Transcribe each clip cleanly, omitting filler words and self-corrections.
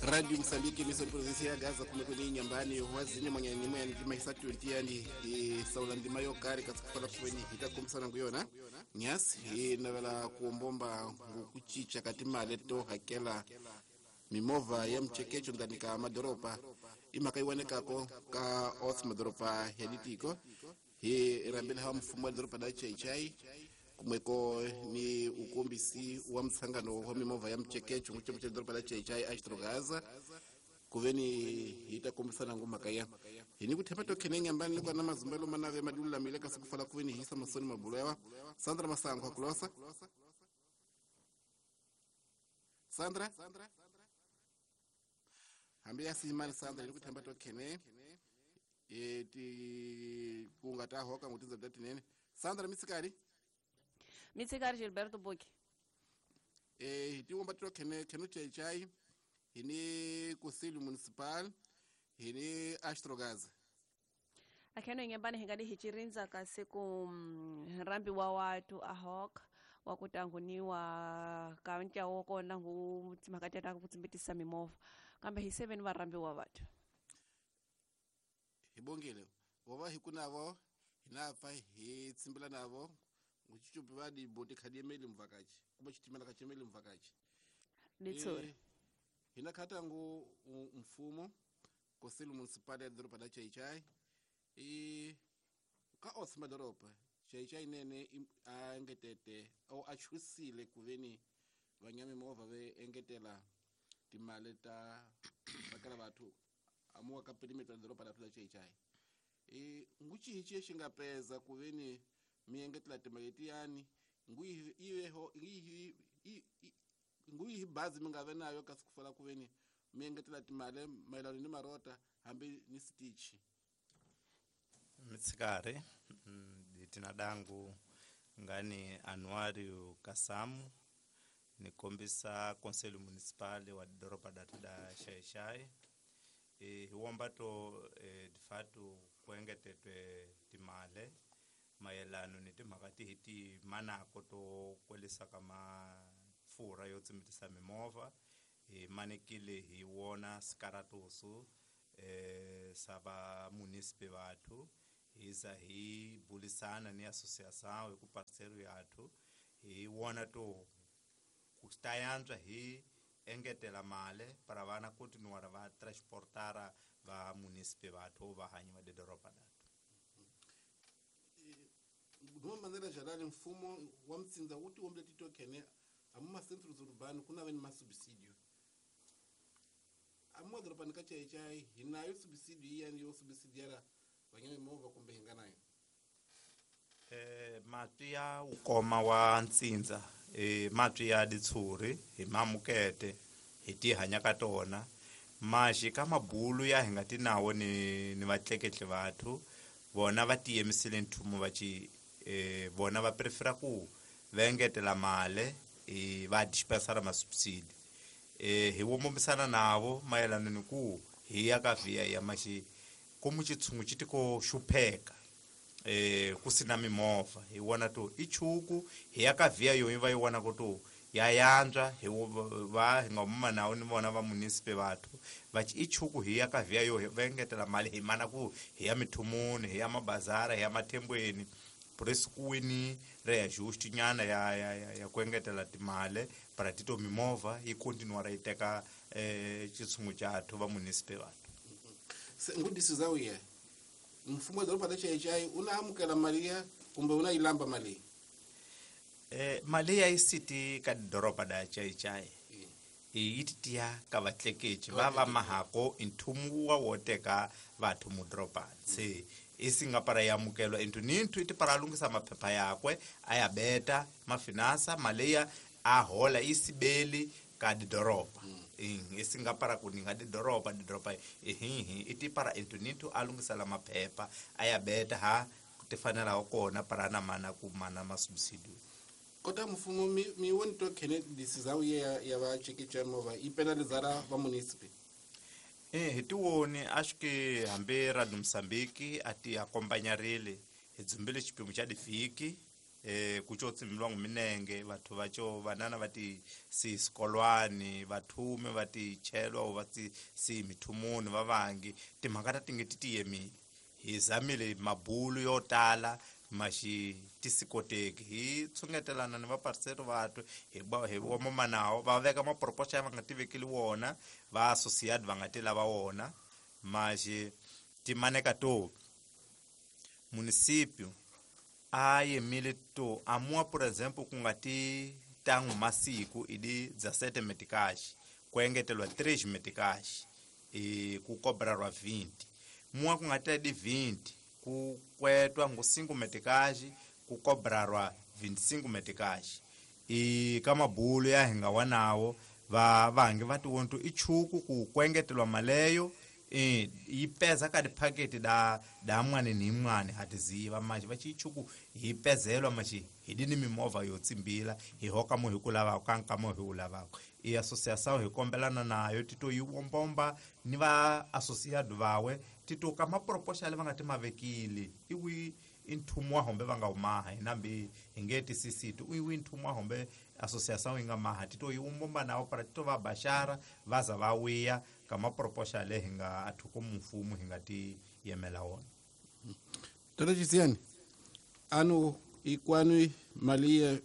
Radio Mosambiki emissão de província ya Gaza kumekweni nyambani wazini mwanyani mwanyani ndima isa 20 yani saula ndima yo kare katsukufala kuweni hitakombisana nguyona nyasi hinavela kuombomba ngukuchicha kati male to hakela mimovha ya mchekecho ndani ka madoropa imhaka iwanekako ka ots madoropa ya ditiko hi rambele hawa mfumo wa doropa da chaichai kumweko ni ukombisi wa mtsangano wa mimovha ya mchekecho nguchemo cha doropa da chaichai astrogaza kuveni hitakombisana ngumhaka ya hini kuthemba tokhene nyambani loko na mazumbelo manave madulamile kasi kufala kuveni hisa masoni mabulo yawa Sandra Masango akulosa Sandra hambi ya simani Sandra ni kuthemba tokhene ti kungata hoka ngutiza datinene Sandra mitsikari mitsikari Gilberto Boki tiwomba tokhene kheno chaichai hini Conselho Municipal hini Astrogaz akheno ingembani hingadi hichirinza kasiku rambi wa watu ahok wakutanguniwa kaunti wokona ngu timakatata kutsimbitisa mimovo kambe hi 7 varambi wa watu hibongile vova hikunavo hinapfa hi tsimbila navo nguchichupi vadi boti khadiemeli mvakachi kumbe chitimela kachemeli mvakachi nitsuri hina khatangu mfumo Conselho Municipal ya doroba da Chaichai e ka ots madoroba Chaichai nene a engetete au achusile kuveni vanyami mova ve engetela timale ta vakala vathu amuwa ka perimeter ya doroba da Chaichai e nguchichi xingapeza kuveni mi engetela timale tiyani nguiveho nguyihi bazi mi nga ve nayo kasi kufala kuveni mi engetela timale mayelano ni marota hambi ni sitichi mitsikari tina dangu ngani Anuário Kasamu nikombisa Conselho Municipal wa doroba datu da Xai-Xai hiwombato de fato kuengetetwe timale mayelano ni timhaka tihi ti manako to kwelisa ka mafurha yo tsimbitisa mimovha hi manekile hi wona sikaratusu sa va munisipe vathu hiza hi bulisana ni associação hi ku parceiro yathu hi wona to ku ta yantswa hi engetela male para vana continuar va transportara va munisipe vathu va hanyi va doroba datu Duma manera geral mfumo wa mtsinza wuti wombele titokhene amu ma centros urbano kuna veni ma subsídio amu madorobani ka Chaichai hinayo subsídio iyani yo subsidiara vanyami movha kumbe hi nga nayo matwi ya ukoma wa ntsindza matwi ya ditshuri hi mamukete hi tihanya ka tona maxi ka mabulu ya hi nga ti nawo ni vatleketli vathu vona va tiyemisile nthumo va ci vona va prefera ku va engetela male va dispensara masubsidi hi wombisana navo mayelana ni ku hi ya ka via ya maxi komu xitshungu xi tiko xupheka ku sina mimovha hi wona to i chuku hi ya ka via yo va yi wona ku to ya yantswa hi va hi nga muma nawo ni vona va munisipe vathu va i chuku hi ya ka via yo va engetela mali hi mana ku hi ya mithumuni hi ya mabazara hi ya mathembweni presikuwini re ya justi nyana ya ku engetela timale para tito mimovha yi continuara yi teka xitshungu xathu va munisipe vathu ngudisi za uye mfumo wa doroba la Chaichai una amukela mali ya kumbe una ilamba mali mali ya isiti ka doroba da Chaichai yi tiya ka vatleketli va va mahako nthumu wa wo teka vathu mudoroba se isingapara ya amukelwa into ninthu iti para lungisa maphepha yakwe a ya beta mafinansa mali ya a hola isibeli ka doroba isingapara kuninga doroba ihihi iti para into ninthu a lungisela maphepha a ya beta ha tifanelaho kona para na mana ku mana masubsidio kota mfumo mi woni to khene disizawu ya va chekecha movha yi penalizara va munisipe hi tiwoni a swi ke hambi Radio Mosambiki a ti akompanyarile hi dzumbile xipimo xa divhiki Ku co tsimbiwa minenge vathu va co vanana va ti si swikolwani vathume va ti chelwa va ti si mithumuni va vangi timhaka ta tinge ti tiyemile hi zamile mabulu yo tala maxi tisikoteki hi tshungetelana ni vaparisero vathu hi vomama nawo va veka maproposha ya va nga tivekeli wona va associate va nga ti lava wona maxi timaneka to municipio a yemile to amua por exemplo ku nga ti tangu masiku idi 17 meticais ku engetelwa 3 meticais e ku cobrarwa 20 mua ku nga ti di 20 ku kwetwa ngo 5 meticais ku cobrarwa 25 meticais e ka mabulu ya hinga wanawo va vangi va tiwonto ichuku ku kwengetelwa maleyo yi peza ka diphaketi da da mwane ni mwane hatiziva manje va chichuku hi pezelwa machi hi dini mimovha yo tsimbila hi hoka mo hi ku lava ka nkamo hi u lavaka i associação hi kombelana nayo tito yi wombomba ni va associado vawe tito ka maproposha le va nga ti mavekile iwi inthumu wa hombe va nga umaha hi nambi hi nge tisisiti iwi nthumu wa hombe associação yi nga maha tito yi wombomba nawo para tito va baxara va za va wiya ka maproposha le hi nga athuko mfumo hi nga ti yemela wona. Tata Chisiani, anu ikwanu mali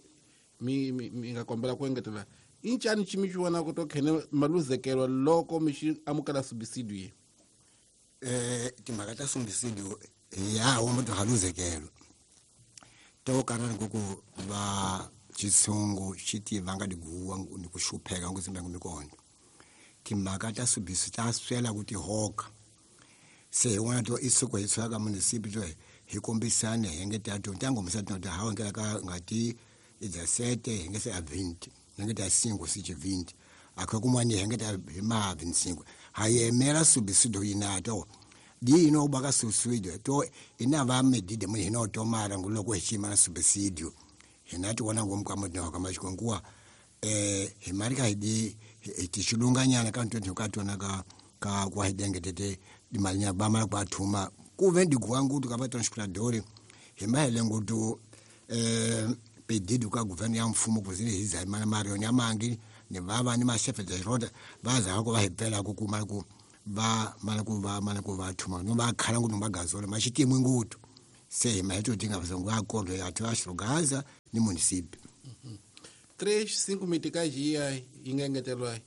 mi nga kombela ku engetela inchani chimichiwana ku to khene maluzekelwa loko michi amukela subsidio ye timhaka ta subsidio ya wo muthu haluzekelwa to karana ku va xitshungu xi tivanga diguwa ni ku xupheka ku tsimba mikondo timhaka ta subsidio ta swela ku tihoka se hi wona to isuku hi tswaka municipio to hi kombisane hi nge ta to ntangomisa to ta hawa ngela ka ngati 17 hi nge se a 20 nge ta 5 si 20 akho kumwani hi nge ta hi ma 25 ha yemela subsidio yina to di ino baka subsidio to ina va medide mu hino to mara nguloko hi chima na subsidio hina ti wona ngomka mo ka maxikonkuwa hi mari ka hi di tixilunganyana ka ntwe ka tona ka ka kwa hidenge tete dimali nya ba mara kwa thuma ku ve ndiguwa ngutu ka va transportador hi mahele ngutu pedido ka governo ya mfumo ku zile hiza mana marioni ya mangi ni vava ni mashefe de rota va za ko va hi pela ku kuma ku va mana ku va mana ku va thuma no va khala ngutu magazola maxitimwe ngutu se hi maheto tinga vasongo acordo ya Gaza ni municipio 3 5 meticais ya yi nga engetelwa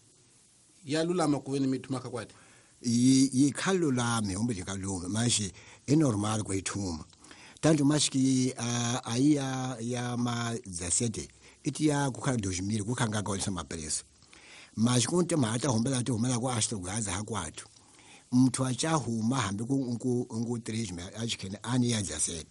ya lulama ku ve ni mithuma ka kwati yi khalulame umbe dikalume manje e normal ku ithuma tanto mashiki aiya ya ma 17 iti ya ku khala 2000 ku khanga ka onsa mapreço mas kunte mata hombela ti humela ku Astrogaza ha kwathu muthu a cha huma hambi ku ku 3 me a chikhene ani ya 17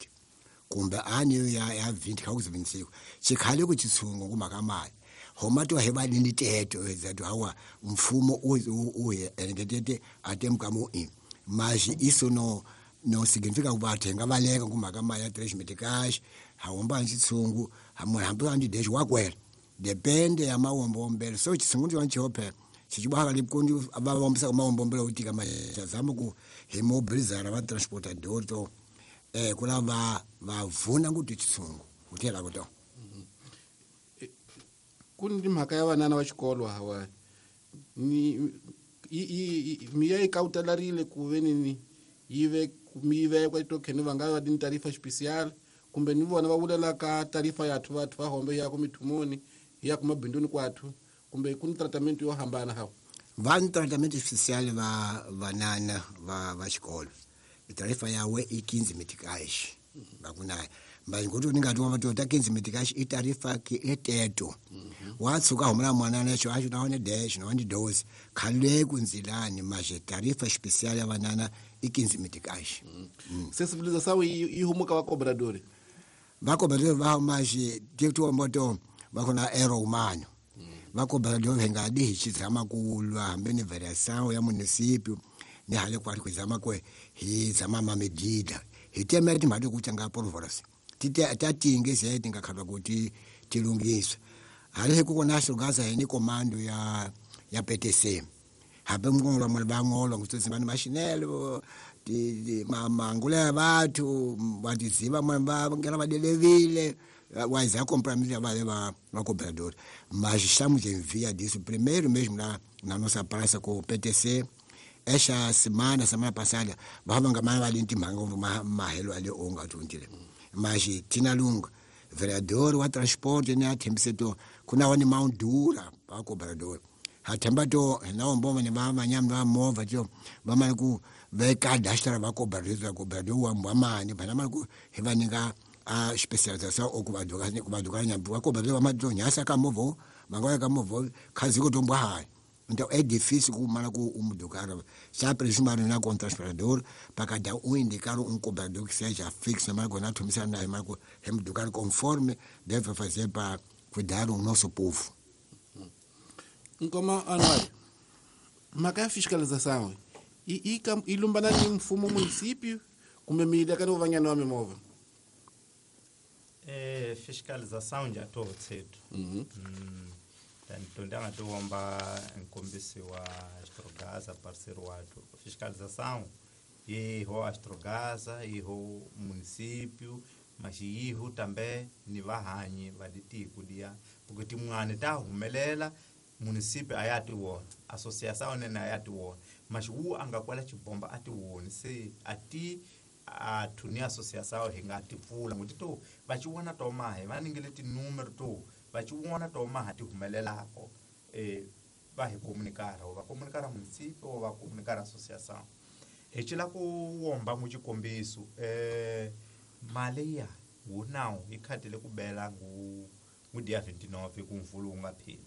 kumbe ani ya 20 ka ku 25 chikhale ku chitsungu kumaka mali homa to he ba ni teto ezathu hawa mfumo u engetete atemka mu i mas isso no no significa ku bathenga baleka kumaka mali ya 3 meticais hawomba chitsungu hamwe hambi andi desho wakwela depende ya mawombombelo so chitsungu ndicho chihope chichibaka likundi abawombisa mawombombelo utika machazama ku himobilizara va transportador to kula va vavuna kuti chitsungu utela kuto ku ni mhaka ya vanana va xikolo hawa ni miya yi kawutelarile ku ve ni yi ve mi vekwa tokheni va nga va ni tarifa special kumbe ni vona va vulela ka tarifa yathu vathu va hombe ya ku mithumuni ya ku mabinduni kwathu kumbe ku ni tratament yo hambana hawa va ni tratament special va vanana va xikolo tarifa yawe i 15 meticais va ku naye manje ngokuthi ningathi wa ta 15 meticais i tarifa ke eteto watsuka humela mwanana xo axo na one dash na one dose khale ku nzilani manje tarifa special ya vanana i 15 meticais. Sensibilização yi humuka va cobrador va cobrador va manje tito moto va kona ero humano va cobrador hi nga di hi xizama ku lwa hambi ni variação ya municipio ni hale kwari ku zama kwe hi zama ma medida hi temere timhaka ku tanga polvoros tita tinge se tinga khalwa kuti tilungiswa hale ku kona Astrogaza hi ni komando ya PTC hambe mngolo mwe bangolo ngutsi bani mashinelo ti mangula ya bathu batiziva mwe ba ngela badelevile Mas há compromisso vai levar o cobrador. Mas estamos em via disso. Primeiro mesmo na nossa praça com o PTC, esta semana passada, vamos ganhar ali em mahelo ali onga tuntile. Mas tina lunga, vereador wa transporte né thembiseto kuna wani maundura pa cobrador. Hatembato na omboma ne mama nyamba mova jo mama ku vekadastra va cobrador cobrador wa mwamani bana maku hevaninga a especialização ou kubaduka nyambu cobrador wa madonyasa kamovo mangoya kamovo khaziko tombwa hai. Então é difícil kumana ku umdukara. Sempre jumar na com transportador para cada um indicar um cobrador que seja fixo, mas quando nós na mas hemducar conforme deve fazer para cuidar o nosso povo. Nkoma Anuário, maka fiscalização e ilumbana ni mfumo município kumbe mídia kana uvanya nome mova. É fiscalização já tô cedo. Tanto ndanga tuomba nkombisi wa Astrogasa parceiro watu fiscalização iho Astrogasa iho município mas iho também ni vahanyi va ditiko dia porque timwana ta humelela município ayati wona associação nena ayati wona mas wu angakwala chibomba ati wona se ati athu ni associação hinga tipfula nguti to va chiwona to mahe va ningele tinúmero to va chiwona to maha ti humelelako va hi comunicar va comunicar município va comunicar associação hi cila ku womba ngu xikombiso mali ya wu nawu yi khatile ku bela ngu dia 29 ku mvulu wu nga pheli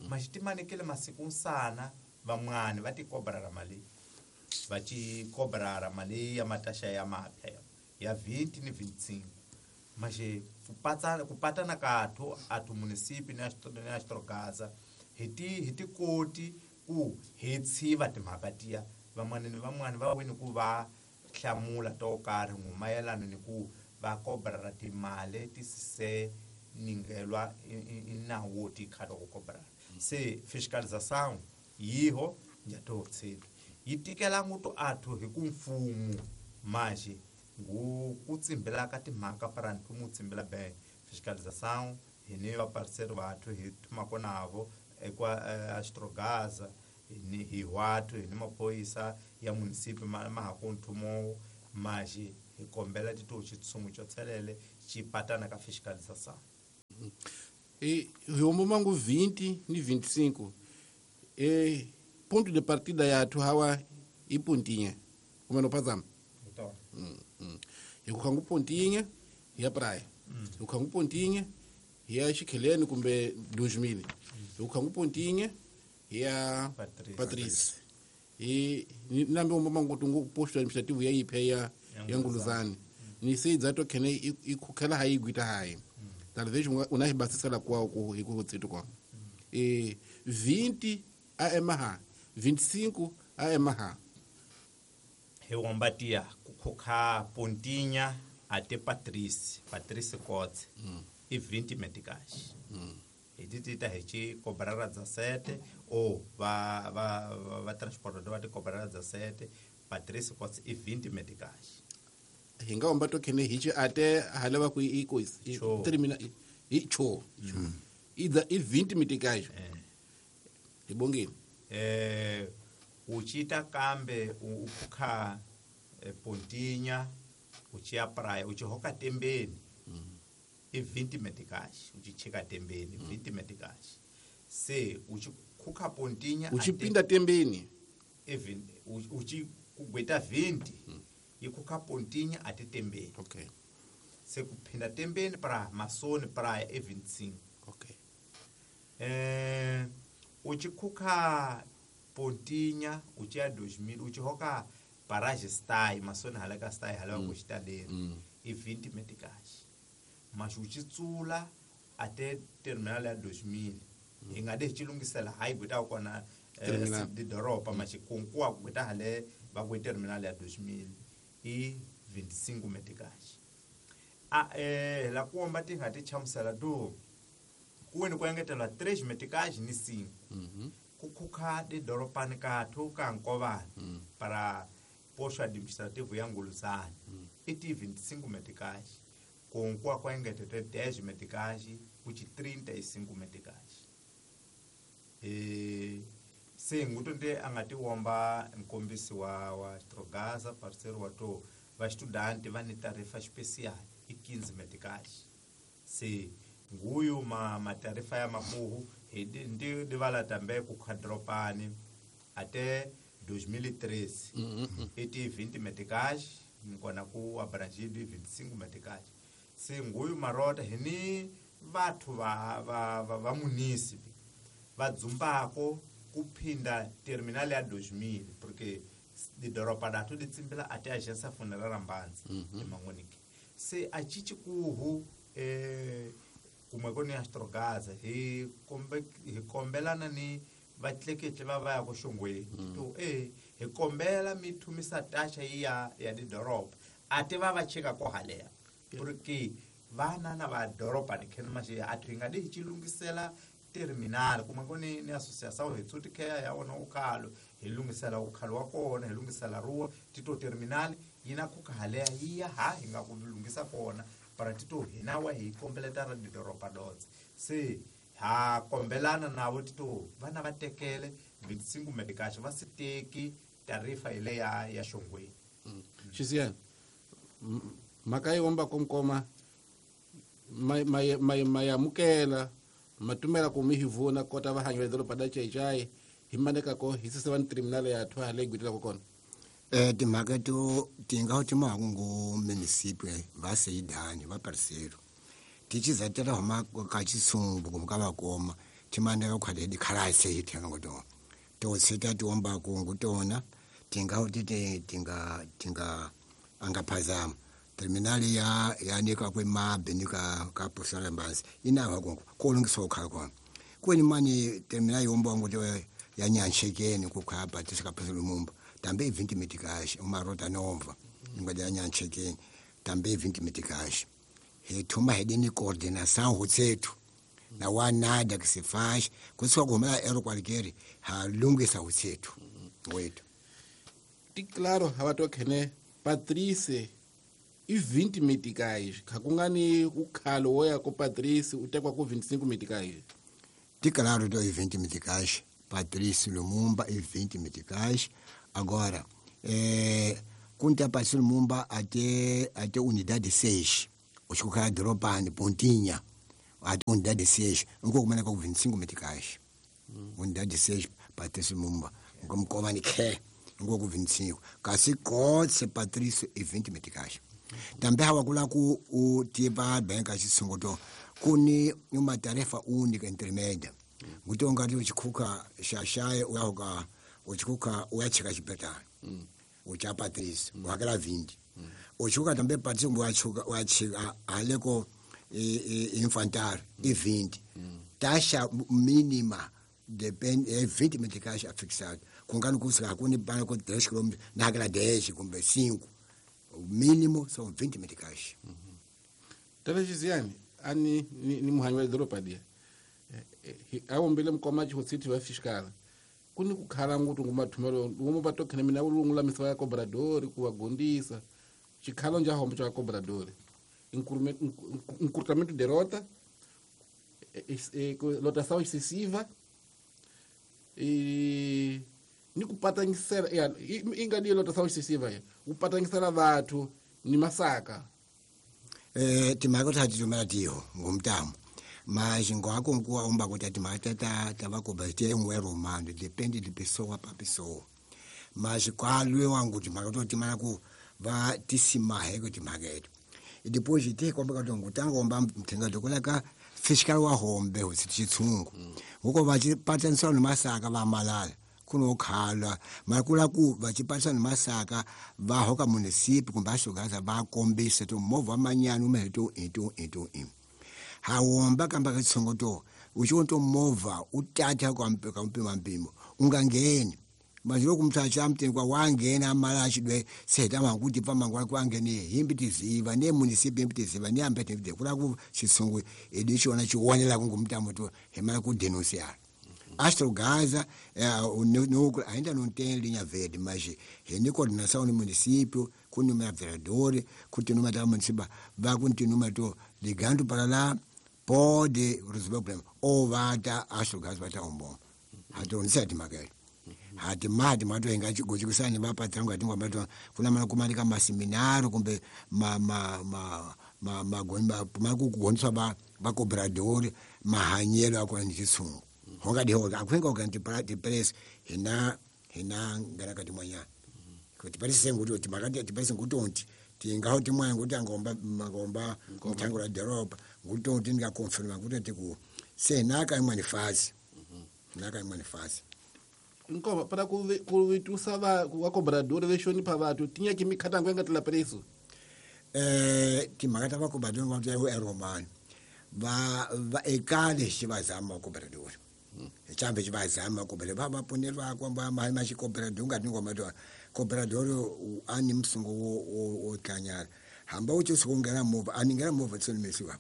mas timanekele masiku nsana van'wani va ti kobrara mali va ci kobrara mali ya mataxa ya mapya ya 20 ni 25 mas ku patana kathu athu município ni Astrogasa hi tikoti ku hi tshiva timhaka tiya van'wani ni van'wani va wini ku va hlamula to karhi mayelana ni ku va kobrara timali ti se ningelwa inawo wo ti khata ku kobrara se fiscalização yiho njatotsedu yi tikela nguto athu hi ku mfumo maji ngu ku tsimbela ka timhaka para nthumu tsimbela be fiscalização hi ni va parceiro vathu hi thumako navo ekwa Astrogasa ni hi watu hi ni maphorisa ya município ma ha ku nthumo maji hi kombela tito xitshungu xo tshelele xi patana ka fiscalização e hi mangu 20 ni 25 e ponto de partida yathu hawa i Pontinha como no passamos então hi ku khangu Pontinha hi ya praia hi ku khangu Pontinha hi ya Xikheleni kumbe 2000 hi ku khangu Pontinha hi ya Patrice hi nambe mangu tungu posto administrativo ya iphe ya Nguluzani ni sei dzato khene i khukhela ha igwita hayi talvez una hibasisela kwao ku hi ku tsitu kwa e 20 a emaha 25 a emaha hi wombatia ku khukha Pontinha ate Patrice Kotse i 20 meticais hi tita hi ci kobrara dza sete o va va va transportador va ti kobrara dza sete Patrice Kotse i 20 meticais hi nga omba to khene hi ci ate haleva ku i ko termina i cho i 20 meticais hi bongeni uchita kambe ukhukha Pontinha uchiya praia uchihoka tembeni i 20 meticais uchichika tembeni 20 meticais se uchikhukha Pontinha uchipinda tembeni even uchikugweta 20 ikhukha Pontinha ate tembeni okay se kuphinda tembeni para masoni praia e 25 okay uchikhukha Pontinha uchiya 2000 uchihoka parage stai masoni halaka stai halaka ku xitaleni i 20 meticais mas uchitsula ate terminal ya 2000 hi nga de xilungisela hayi gweta kona di doroba maxikunkuwa gweta hale va ku terminal ya 2000 i 25 meticais a la kuomba ti nga ti chamusela do kuweni ku engetela 3 meticais ni 5 ku khukha di doropani kathu ka Nkovani para posto administrativo ya Nguluzani i ti 25 meticais Konkuwa kwa engetete 10 meticais kuchi 35 meticais. E se nguto nde angati womba nkombisi wa Astrogaza parceiro wa to va estudante va ni tarifa especial e 15 meticais. Se nguyu ma tarifa ya makuhu ndi divala tambe ku khadropani até 2013. Eti 20 meticais nkona ku abrangido 25 meticais. Se nguyu marota hini vathu va municipio va dzumbako kuphinda terminal ya 2000 porque di doropa datu di tsimbila ate agência funerária Mbanzi emangoniki. Se achichi kuhu kumwe koni Astrogaza hi kombelana ni vatleketle va va ya ku xongweni to hi kombela mi thumisa taxa ya di doropa ate va va cheka ko halea porque vana na va doropa ni khena maxe athu hi nga di hi chilungisela terminal kuma koni ni associação hi tsuti khe ya wona ukhalo hi lungisela ukhalo wa kona hi lungisela ruwa tito terminal yina ku halea yiya ha hi nga ku lungisa kona para tito hina wa hi kombeleta ra doropa dotse se ha kombelana navo tito vana va tekele 25 meticais va si teki tarifa ile ya xongweni. Xisiya mhaka yi womba komkoma mayamukela matumela ku mi hi vona kota va hanyo doroba da chaichai hi maneka ko hi sise va terminal ya thwa le gwitela ko kona. Timhaka to tinga ti mahungu municipio va seidani va parceiro tichizatela huma ka chisungu kumka va koma timaneka khale di khalase hi thenga ngo to sita tiomba kungu tona tinga ti tinga tinga angaphazama terminal ya nika kwe mabe nika ka posala Mbanzi inawa konko kolungisa ukhala kona kweni mani terminal yomba ngo ya nyanchekeni kukhaba tisikaphezulu Lumumba tambe 20 meticais uma rota nova ngwa ya nyanchekeni tambe 20 meticais he thuma hedini coordenação hutsethu na wanada que se faz kusuka kumela ero qualquer ha lungisa hutsethu wethu ti claro hawatokhene Patrice i 20 meticais khakungani ukhalo woya ko Patrice utekwa ku 25 meticais. Ti claro do 20 meticais Patrice Lumumba e 20 meticais. Agora kunta Patrice Lumumba até unidade 6 ochuka dropani pontinha até unidade 6 nko kumena ko 25 meticais. Unidade 6 Patrice Lumumba ngomkoma ni ke nko ku 25 kasi kotse Patrice e 20 meticais. Tambe hawakula ku u tiba banka xisunguto kuni uma tarefa única intermédia ngutonga ri uchikhuka xaxaye uyahuka uchikhuka uyacheka xibetana ucha Patrice uhakela 20 uchuka tambe Patrice uyachuka uyachika aleko infantar i 20 taxa mínima depende 20 meticais afixado kungani kusika kuni bana ko 10 km na 10 kumbe 5 o mínimo são 20 meticais. Tata Xiziane, ani ni muhanyi wa doropa dia. Awombele mukoma chihositi wa fiscal. Kuni kukhala ngutu ngumathumelo ngomo batokhene mina ulungula misa ya cobrador kuwagondisa. Chikhalo nja hombo cha cobrador. Encurtamento de rota, lotação excessiva e ni kupatangisela ingadi lotação excessiva ya kupatangisela vathu ni masaka. Timhaka ta titumela tiho ngomtamo mas ngwako nkuwa omba kuti timhaka ta vakoba te ngwe romano depende de pessoa pa pessoa mas kwalwe wangu timhaka to timana ku va tisimahe ku timhaka etu e depois te komba ka tongo tango omba mthenga dokolaka fiscal wa hombe ho chitsungu ngoko va chipataniswa ni masaka va malala kunokhala makula ku va chipatisa ni masaka va hoka municipio kumbe ashogaza va kombisa to movha manyana umeto eto eto e hawomba kamba ka tsongo to uchonto movha utatha kwampeka mpima mpimo ungangeni manje lokumthatha mteni kwa wangena amala chidwe seta makuti pamangwa kwangene himbi tiziva ne municipio himbi tiziva ne ambete vide kula ku chisungu edichona chionela kungumtamo to hemala ku denunciar Astrogaza no ainda não tem linha verde, mas é coordenação no município, Ku número vereador, ku número da município, vai com número to ligando para lá, pode resolver o problema. Ou vai dar acho gás vai dar um bom. Ato nsati makele. Hati mati mato engachi gochikusani vapatsanga tingwa mato kuna mana kumanika maseminari kumbe ma ma ma ma ma ma kugoniswa va vakobradori mahanyelo akona ni xitshungu hongadi hoga akwenga ukanti press hina hina ngaraka timwanyana kuti parise nguti timakati tiparise ngutonti tingaho timwanya nguti angomba mangomba muthango la doroba ngutonti ndingakonfirma kuti tiku se naka imwe fazi naka imwe fazi Nkoma para kuvitusa va vakobradori veshoni pa vatu tinyaki mikhatango yangatila preso timhaka ta vakobradori va ya eromani va va ekale xi va zama vakobradori xambe xi va zama vakobradori va va pfuneriwa kwamba ma ma xikobradori nga ti ngoma to kobradori a ni musungo wo tlanyala hamba u tsuka u nghena movha a ni nghena movha tsoni mesiwa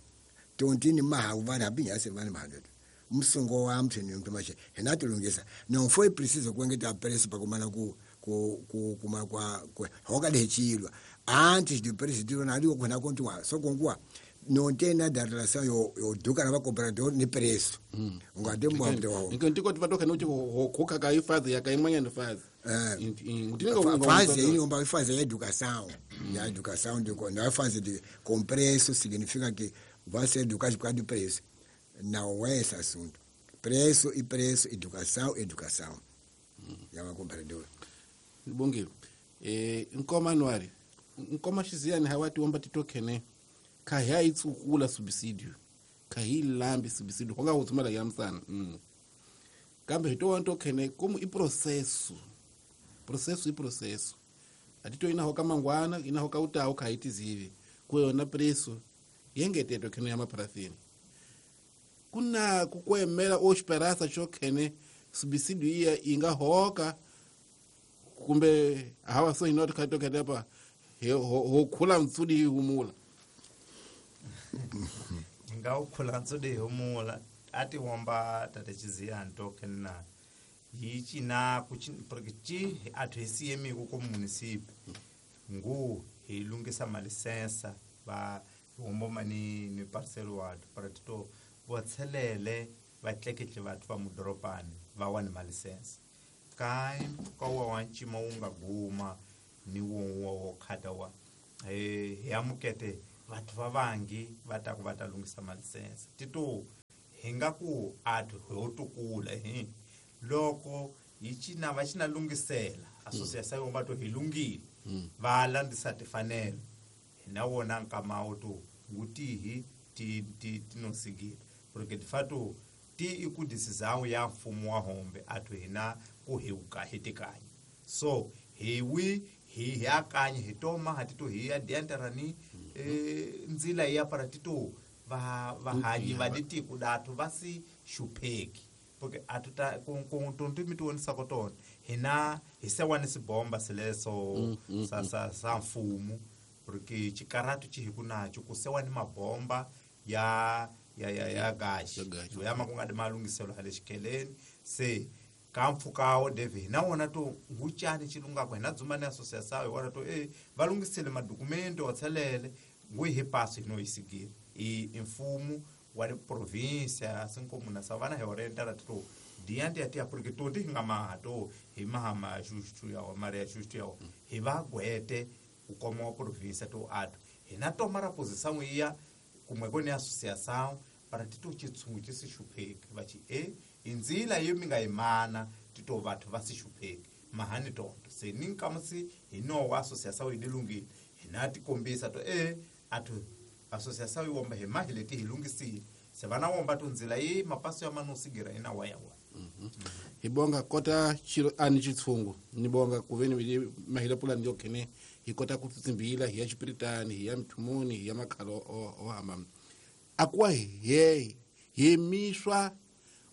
tontini mahawu vanhu hambi nyase vanhu mahandle musungo wa mthini mntu maxe hina tilungisa não foi preciso kuengeta preço para kumana ku ku ku kuma kwa hoka lechilwa antes de presidente na ali kuna kontua so konkua não tem nada relação yo yo duka na cobrador ni preço ungade mbwa wa Ntiko tivatoka noti hoka ka ifazi yakaimwanya ni fazi fazi ini omba fazi ya educação ya educação de na fase de com preço significa que vai ser educado por causa do preço. Não é esse assunto. Preço e preço, educação, educação. Ya vakombrador. Bongile. Nkoma Nwari. Nkoma xiziyani hawati womba titokene kha hi itsukula subsidio. Kha hi lambi subsidio honga utsumela ya msana. Kambe hito wanto kene como i processo. Processo i processo. Atito ina hoka mangwana, ina hoka utawo kha itizivi. Kuyona preço yengeteto kene ya maparafini. Kuna kukwemela o esperança chokene subsidio iya inga hoka kumbe hawa so inoti khatokene pa ho khula ntsudi humula nga ukhula ntsudi humula ati womba tate chiziyani tokena yichi na porque chi athu hisiyemi ku municipio ngu hi lungisa malisensa va homboma ni parcel ward para tito vatselele vatleketle vathu va mudoropani va wani malisensa kai ka wa wa ncima wu nga guma ni wo wo khata wa hi amukete vathu va vangi va ta ku va ta lungisa malisensa tito hi nga ku athu ho tukula hi loko hi cina va cina lungisela association yo va to hi lungile va landisa tifanelo hina wona nkama wo to ngutihi ti ti tinosigile porque de fato ti iku decisão ya mfumo wa hombe athu hina ku hi uka hi tikanya so hi wi hi yakanya hi toma hatito hi ya diantarani nzila ya para tito va vahanyi va ditiko datu va si xupheki porque atuta ku tonto mi tionisa ko tona hina hi sewani sibomba sileso sa sa sa mfumo porque chikaratu chi hi kunacho ku sewani mabomba ya ya ya ya gashi ya makunga de malungiselo hale xikeleni se ka mpfukawo David hina wona to nguchani chilunga ku hina dzumani association hi wona to va lungisele madokumento wa tselele ngu hi paso hino isigile i mfumo wa província assim como na savana hi orienta la to diante ya tia porque to ndi nga maha to hi mahama xuxu ya wa maria xuxu ya hi va gwete ku koma wa província to atu hina to mara posição iya kumwe kone associação para tito chitsungu chi si xupheki va chi inzila yo mi nga imana tito vathu va si xupheki mahani tonto se ni nkamusi hi no wa associação yi lungile hina tikombisa to athu associação yi womba hi mahi leti hi lungisile se vana womba to nzila yi mapaso ya manusigira ina wa ya wa hi bonga kota chiro ani chitsungu ni bonga kuveni mahila pulani yo kene hi kota ku tsimbila hi ya xipiritani hi ya mthumuni hi ya makhalo o hamba akwa he hi miswa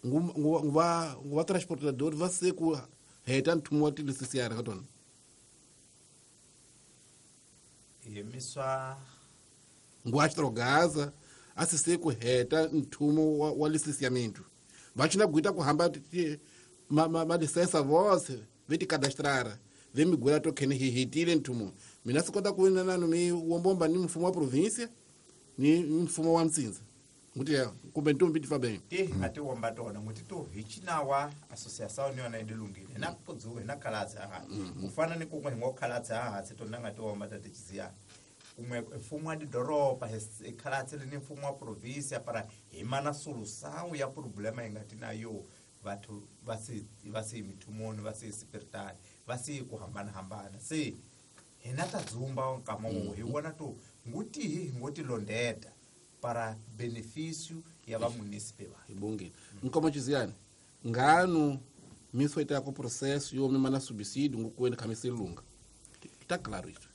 nguva nguva transportador va se ku heta nthumu wa tilisisiara ka tona hi miswa nguva xitrogaza a si se ku heta nthumu wa lisisiamento va china kuita ku hamba malisensa vose ve ti kadastrara Ve migwela to khene hi hetile nthumo. Mina swi kota ku nanu mi wombomba ni mfumo wa province ni mfumo wa Mtsindza. Nguti ya kumbe ntombi ti fa bem. Ti nga ti womba tona nguti to hi chinawa association yona yi lungile na kudzuwe na khalatsi ha ku fana ni kun'we hi ngo khalatsi ha se tona nga ti womba ta tichiziya kumwe mfumo wa didoroba hi khalatsi ni mfumo wa province para hi mana solução ya problema hi nga ti na yo vathu va si mithumoni va si spiritali va si ku hambana hambana se hina ta dzumba nkama wo hi vona to nguti hi ngoti londeta para benefício ya va munícipe va ibongile nkomo chiziyani nganu miso ita ko processo yo mima na subsídio ngokweni khamisa ilunga tá claro isso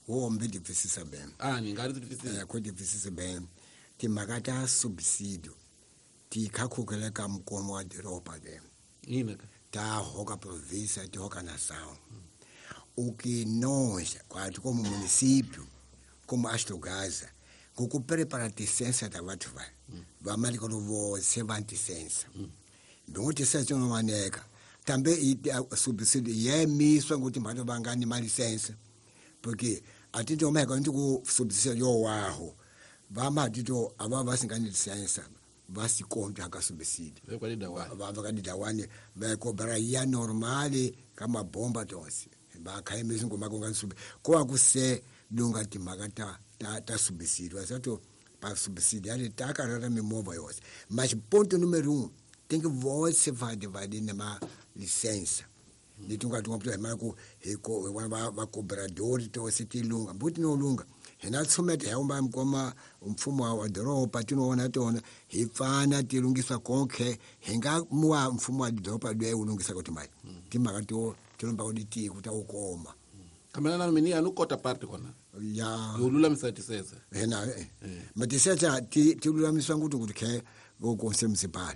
wo mbe difícil bem ni ngari difícil ko difícil bem timhaka ta subsídio ti khakhukela ka mkomo wa doroba de ina ta hoka província ti hoka nação o que nós quando como município como Astrogás ngoku prepara licença da batho ba ba mali ko vo se va licença ndongo licença no maneka também subsídio yemiswa ngokuthi mbantu bangani ma licença porque atinte omeka nti ku subsídio yo waho ba matito aba basingani licença basikonta ka subsídio ba ba kadidawane ba cobra ya normale kama bomba tonse ba khayemisa ngoma konga sub ko akuse lunga timhaka ta subsídio asato pa subsídio ali takarara mimovha yose mas ponto número 1 tem que você vai dividir numa licença litunga tunga mntu hemako hiko va cobrador to se tilunga mbuti no lunga hina tsumete hamba mkoma mfumo wa doroba tinoona tona hi pfana tilungisa konke hinga muwa mfumo wa doroba lwe ulungisa kuti mai timhaka to tilomba kuti kuti ukoma kamana na mini anu kota parte kona ya yolulamisa tisesa hena matisesa tilulamiswa kuti kuti ke go conselho municipal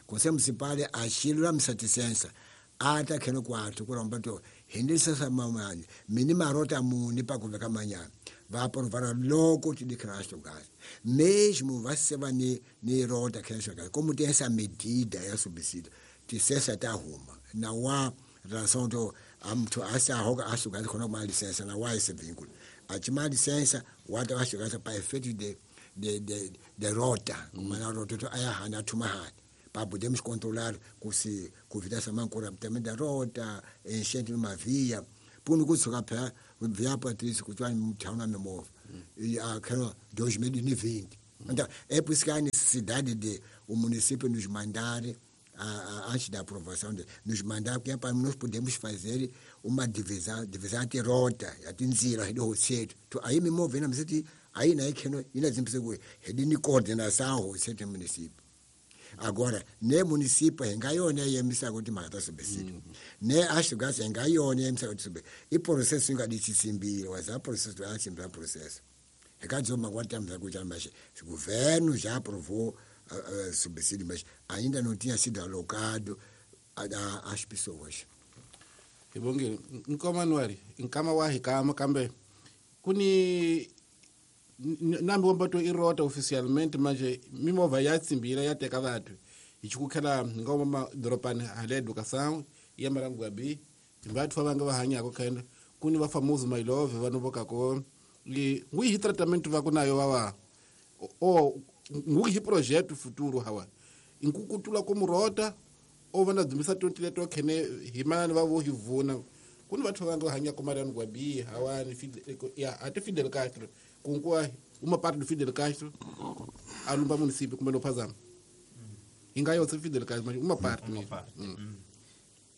conselho municipal axilulamisa tisensa ata kheno kwathu kuramba to hindisa mamani mini marota muni pakuveka manyana va provara loko ti Cristo gas mesmo va se va ni rota Cristo gas como tem essa medida ya subsídio tisesa ta huma na wa relação to amthu asa hoka acho gas khona ma licença na wa esse vínculo a tima licença wa ta acho gas pa efeito de rota mana rota to aya hana thuma hana para podermos controlar com se convidar essa mancora também da rota enchente numa via por não conseguir pé via Patrícia que tu na memória e aquela 2020 então é por isso que há necessidade de o município nos mandar antes da aprovação nos mandar porque é para nós podemos fazer uma divisão de rota a tinzira do roceiro aí me movendo mas aí na que não ina zimpse ni coordenação roceiro município. Agora, ne município engayona yemisa kuti makata subsídio. Ne Astrogás engayona yemisa kuti subsídio. E processo ingaditsisimbile, waza processo asimbila processo. Rekadzoma kwatamza kuti mas o governo já aprovou subsídio, mas ainda não tinha sido alocado às pessoas. Ibongile, nkomanuari, nkama wa hikama kambe kuni nambi wambato irota oficialmente manje mimovha ya tsimbila ya teka vathu hi chikukhela ngoma madorobani hale educação ya marangwabi vathu va nga va hanyako khenda kuni va famoso my love vanhu vokako li ngui hi tratamento va ku nayo va o ngui hi projeto futuro hawa inkukutula ko murota o va na dzumisa 20 leto khene hi manani va vo hi vuna kuni vathu va nga hanyako marangwabi hawani ya ate Fidel Castro kunkuwa uma parte do Fidel Castro alumba município kumbe no phazama ingayo tse Fidel Castro mas uma parte uma parte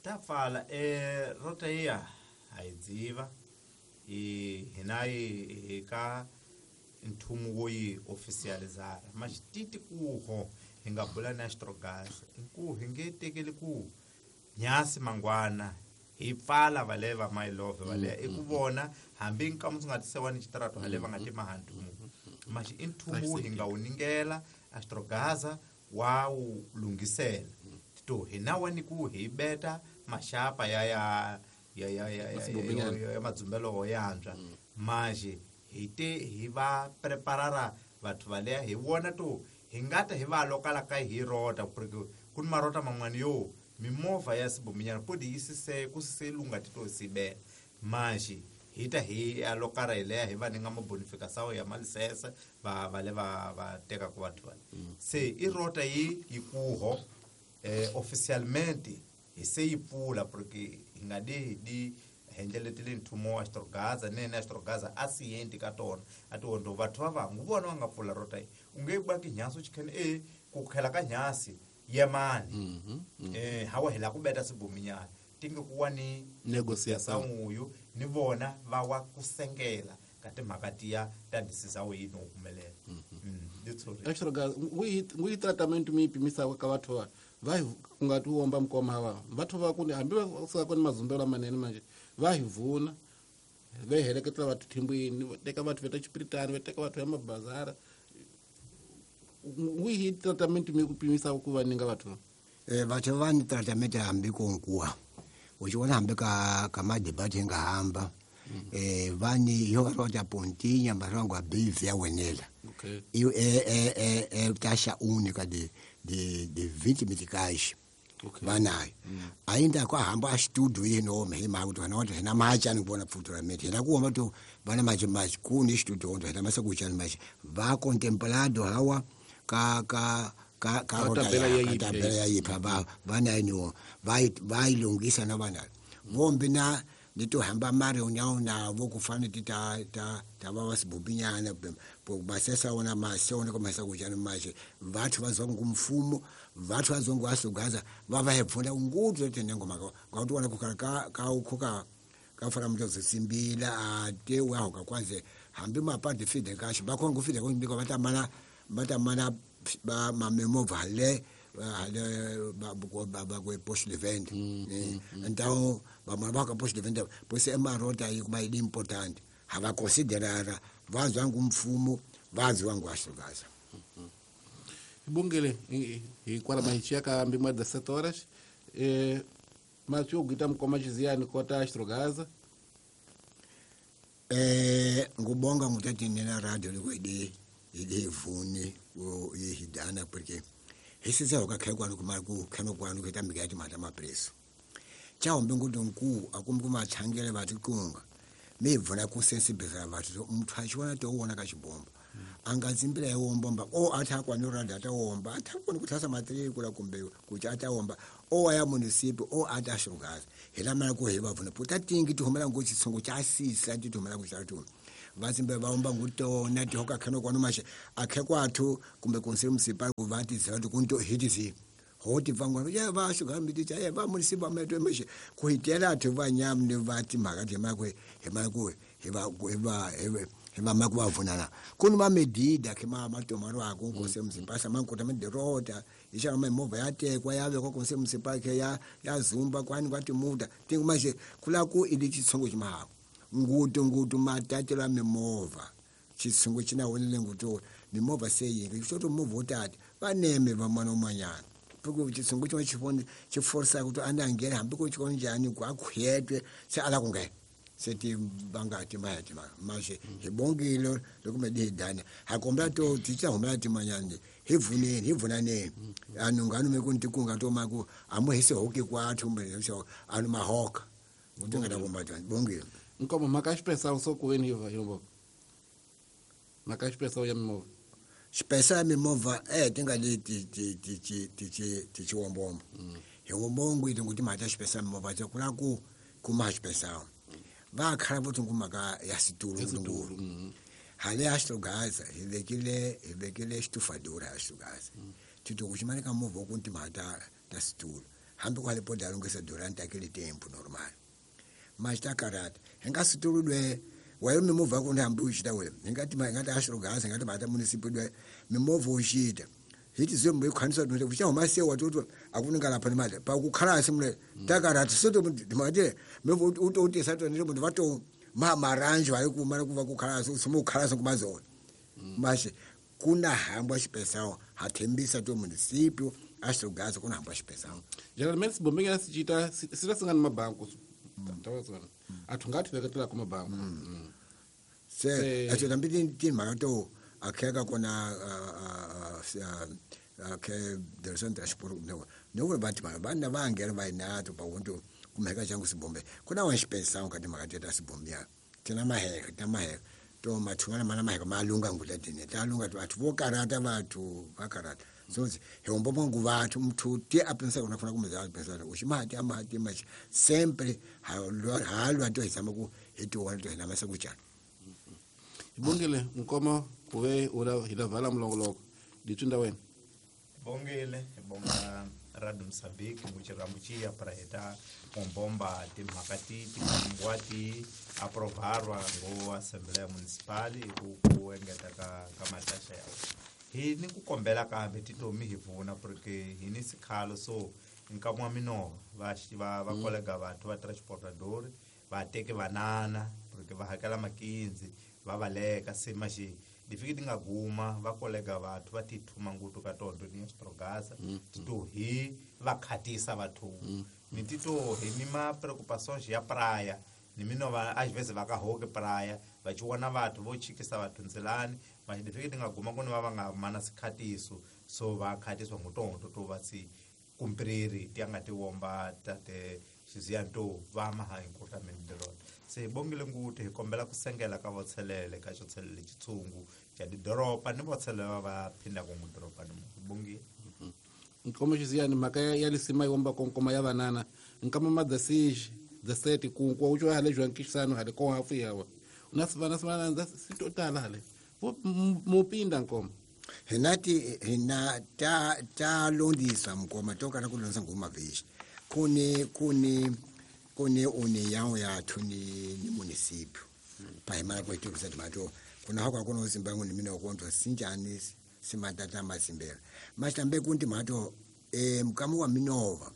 ta fala rota iya ayidziva e hina ka nthumu wo yi oficializar mas titi kuho hinga bula na Astrogás ku hinge tekeli ku nyasi mangwana hi pfala valeva my love vale i ku vona hambi nkamu nga tisewa ni xitarato haleva nga tima hantumu mas i nthumu hi nga wu ningela Astrogás wa wu lunghisela to hina wani ku hi beta maxapa ya ya ya ya ya ya madzumbelo yantswa manje hi te hi va preparara vathu valeya hi vona to hi nga ta hi va lokala ka hi rota porque ku ni marota man'wana yo Mimovha ya sibominyana podi yi sise ku sise lunga tito sibela manje hita hi alokara hi leya hi va ni nga mabonificação ya malisesa va va le va va teka ku vathu va se i rota yi yi kuho oficialmente hi se yi pfula porque hi nga di di hendleletile nthumo wa Astrogaza nene Astrogaza a sienti ka tona a tiwondo vathu va vangu vona va nga pfula rota yi u nge ba ki nyasi u chikhene ku khela ka nyasi yemani hawa hi la ku beta sibominyana tinge ku wa ni Negociação. uyu ni vona va wa ku sengela ka timhaka tiya ta ndisisawo yi no humelela. Astrogaza ngui tratamento mi pimisa ka vathu va hi ku nga ti womba mukoma va vathu va ku ni hambi va suka ku ni mazumbelo lamanene manje va hi vuna va heleketela vathu thimbwini va teka vathu va ta Chipiritani va teka vathu ya mabazara ngui tratamento mi ku pimisa ku va ninga vathu Vathu va ni tratamento hambi ku nkuwa u xi vona hambi ka madebate hi nga hamba vani yo va rota pontinya marango a bivi ya wenela. Okay. Iyo taxa única de 20 meticais. Okay. Vanayo. Ainda kwa hamba estudo yeno hima kuti vana kuti hina macha ni kuona futuramente hina kuoma to vana machi machi kuni estudo ndo hina masa kuchani machi va contemplado hawa ka ka ka ka Ka tabela ya ka yiphi. tabela ya yiphi va vana ni va va ilungisa na vana vombi na nitohamba mari unyaona vo kufana ti ta ta ta va vasibubinyana basesa wona masona komasa kuchani machi vathu vazongu mfumo vathu vazongu asugaza va va hepfuna ngutu tenengo maka ngakuti wana kukhala ka ka ukhuka ka fana mntu zisimbila ate wahoka kwanze hambi mapadi fide kashi bakhonga ufide konke batamana batamana ba mamemova le hale ba ba post event então ba ba post event pois é uma rota aí kuma importante hava considerara vazwa ngumfumo vazwa ngwashugaza Bungele hi kwala mahichia ka mbimwa 17 horas mathieu guita mukoma chiziyani kota Astrogaza ngubonga ngutati nena radio likwedi idivuni yihidana porque hisisa ukakhekwa kuma ku khano kwanu kuita mikati mata mapreso chawombe nguti nku akumbi kumachangele vati kunga mibvuna kusensibiliza vati muthu achiona toona kachibomba angadzimbira iwombomba o ati akwanirada atawomba atakoni kuthasa matirikula kumbe kuti atawomba o aya munisipi o ati ashugaza hila ku hi vavhuna puta tingi tihumela ngo chitsungu chasisa tihumela kuchatu vatsimbe vaomba ngutona tihoka khano kwanu mashe akhe kwathu kumbe konsili musipa kuvati zati kunto hitizi hoti vangwa ya va shuga miti cha ya va munisipa metwe mashe kuitela athu vanyam ni vati makati makwe hemaku heba heba heba makuvavunana kuni mamedida ke matomaro ako kose mzipasa mankota mederota isha mamovha yatekwa yavekwa kose mzipa ke ya yazumba kwani kwati muda tingu mashe kulaku ili chitsongo chimahako ngutu ngutu matatela mimovha chitsungu chinawonele ngutu mimovha seyingi choto movha utati vaneme vamwana umanyana puku chitsungu chimwe chifoni chiforsa kuti anangere hambi kuchikonjani kwakhwetwe se ala kunge seti vangati mayati mashe hibongile lokumedihidana hakombela to tichahumela timanyani hivuneni hivunaneni anu nganume kuntikunga tomaku amuhise hoki kwathu anu mahoka ngutingatabombatani bongile Nkomo maka expressão só com ele vai maka expressão ya mimova expressão ya mimova tinga ti ti ti ti ti ti chiwombombo hiwombongo iti kuti mata expressão mimova kula ku kuma expressão vakhala voti ngumaka ya situlo ngulu hale Astrogaza hivekile xitufadura Astrogaza tito kuchimane ka movha kunti mata ta situlo hambi kwale podalo ngese durante aquele tempo normal mas takarata hingasituludwe wayo mimovha kuni hambi uchita we hingati hingati Astrogaza hingati mata municipal dwe mimovha uchita hiti zembe ikhanisa kuti kuchahuma sewa toto akuninga lapha nemali pakukhala simule takarata soto mate mimovha utotesa to nje muntu vato maranjo ayo kumara kuva kukhala simukhala kumazona mashe kuna hamba xipesao hathembisa to municipio Astrogaza kuna hamba xipesao geralmente sibombe sichita sita mabanku tawazana athu ngathi veketela kuma banku se athu tambiti timhaka to akheka kona akhe direção transport Nokuri vati vanhu vana va nghena va inato pawuntu kumheka changu sibombe. Kuna wa xipensang ka timhaka teta sibombya. Tina maheka, tina maheka. To mathungana mana maheka malunga ngula tine. Ta lunga vathu vo karata vathu va karata. So hi hombo ngu vathu muthu ti a pensa kuna funa kumbe za pensa uximati amati machi sempre halwa to hi tshama ku hi tiwona to hina masiku njhani. Bongile nkoma kuve ula hi la mulongoloko ditsinda wena. Bongile bonga Radio Mozambique muchirambuchiya para heta mombomba timhaka ti tikangwati aprovarwa ngo Assembleia Municipal ku engeta ka mataxa yawo. Hi ni ku kombela kambe titomi hi vuna porque hi ni sikhalo so nkamwa minova va kolega vathu va transportador va teke vanana porque va hakela makinzi va valeka se maxi difiki ti nga guma va kolega vathu va tithuma ngutu ka tondo ni strogasa tito hi va khatisa vathu ni tito hi ni ma preocupações ya praia ni minova às vezes va ka hoke praia va chiwana vathu vo chikisa vathu ndzelani mas difiki ti nga guma ku ni va nga mana sikhatiso so va khatiswa ngutondo to va si kumpriri ti nga ti womba tate xiziyanto va maha encurtamento de rona. Se bongile nguti hi kombela ku sengela ka votshelele ka xotshelele xitshungu xa didoropa ni votshelele va phinda ku ngudoropa ni bongile. Nkoma xiziyani mhaka ya lisima yi womba konkoma ya vanana nkama madasiji daseti ku ku ucho hale jwankisano hale ko hafu yawa unasivana sivana ndasitotala hale mupinda nkoma hinati hina ta londisa mkoma toka na kulonza ngoma vishi kune kune kune une yawo yathu ni municipio pahimana kwetu kusati kuna hako akona uzimbangu ni mina ukontwa sinjani simatata masimbela mashambe kunti mato mkamu wa minova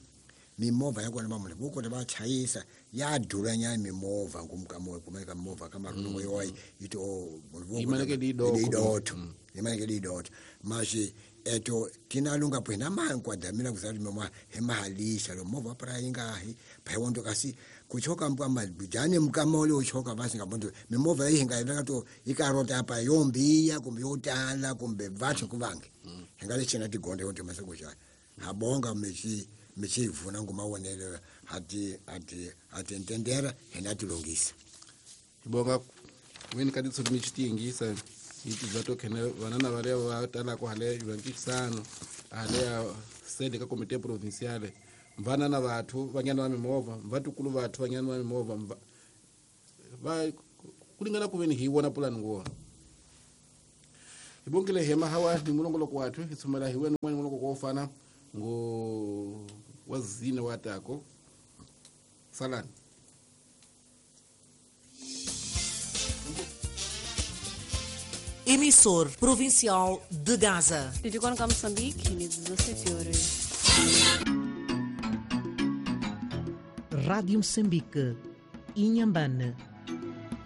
mimova yakona bamule buko batshayisa yadula nyana mimova ngumkamo kumeka mimova kama rungo yoyi ito imaneke didotho imaneke didotho mashi eto tinalunga phena mankwadamira kuzali mama hemahalisha lo mova pra ingahi phayondo kasi kuchoka mkama bijane mkamole uchoka basi ngabonto mimova ihinga to ikarota apa yombiya kumbe yotala kumbe vathu kuvange hingale chena tigonde yonto masokuja habonga mechi mechivuna ngumawonelo hati hati hati ntendera henatilungisa bonga weni kaditso michitingisa iti vatokene vanana vale va tala ku hale jwankisano hale ya sede ka comité provinciale vanana vathu vanyana va mimovha vatukulu vathu vanyana va mimovha va kulingana kuveni hi wona pulani ngona ibongile hema hawa ni mulongoloko wathu itsumela hi wena mwani mulongoloko wo fana ngo wazina watako salani. Emissor Provincial de Gaza. De Moçambique, 17 horas. Rádio Moçambique, Inhambane.